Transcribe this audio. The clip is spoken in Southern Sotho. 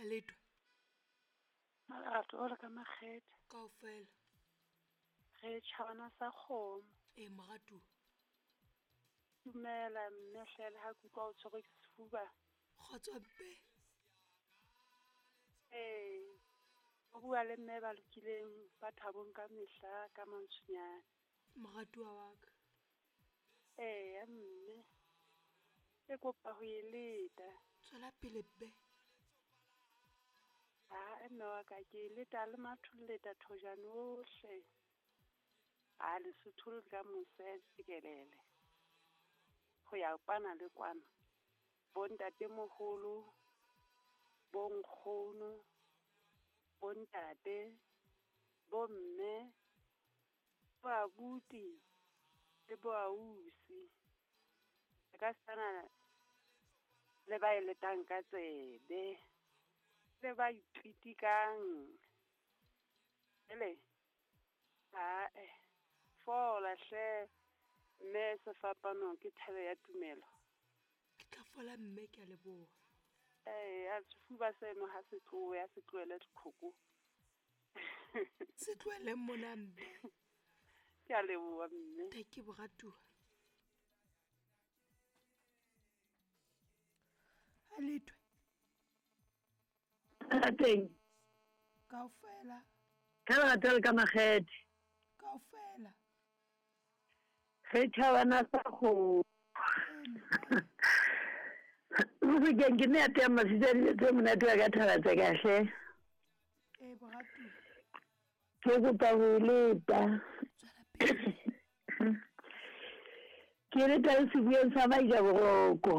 Aletwa. Malerato o le ka makgethe. Kaofela. Re tjhabana sa kgomo. Ee, moratuwa. Dumela mme hle le ha ke utlwa o tshwerwe ke sefuba. Kgotso mpe. Ee, o bua le mme ba lokileng ba thabong ka mehla ka mantshunyane. Moratuwa wa ka. Eya mme, ke kopa ho e leta. Tswela pele be. Ha mme wa ka ke e leta le matholleta thojane ohle. A Lesotho le ka mose tjekelele. Ho ya kwana le kwana. Bo ntatemoholo, bo nkgono, bo ntate, bo mme, bo abuti le bo ausi. E ka sana le ba e letang ka tsebe, le ba ipitikang. Ele, ae, fola hle, mme sefapano ke thebe ya tumelo. Ke tla fola mme ke a leboha. Eya, sefuba seno ha se tlohe, ha se tlohele diqhoko. Se tlohele mona mme. Ke a leboha mme. Thank you moratuwa. Aletwe. Rateng. Kaofela. Ka lerato le ka makgethe. Kaofela. Ge tšhabana sa go. Mofokeng ke ne ya tea masitsa dijo tse monate wa ka thaba tse kahle. Ee moratuwa. Ke kopa ho e leta. Tswela pele. Ke leta le sebueng sa Maija Boroko.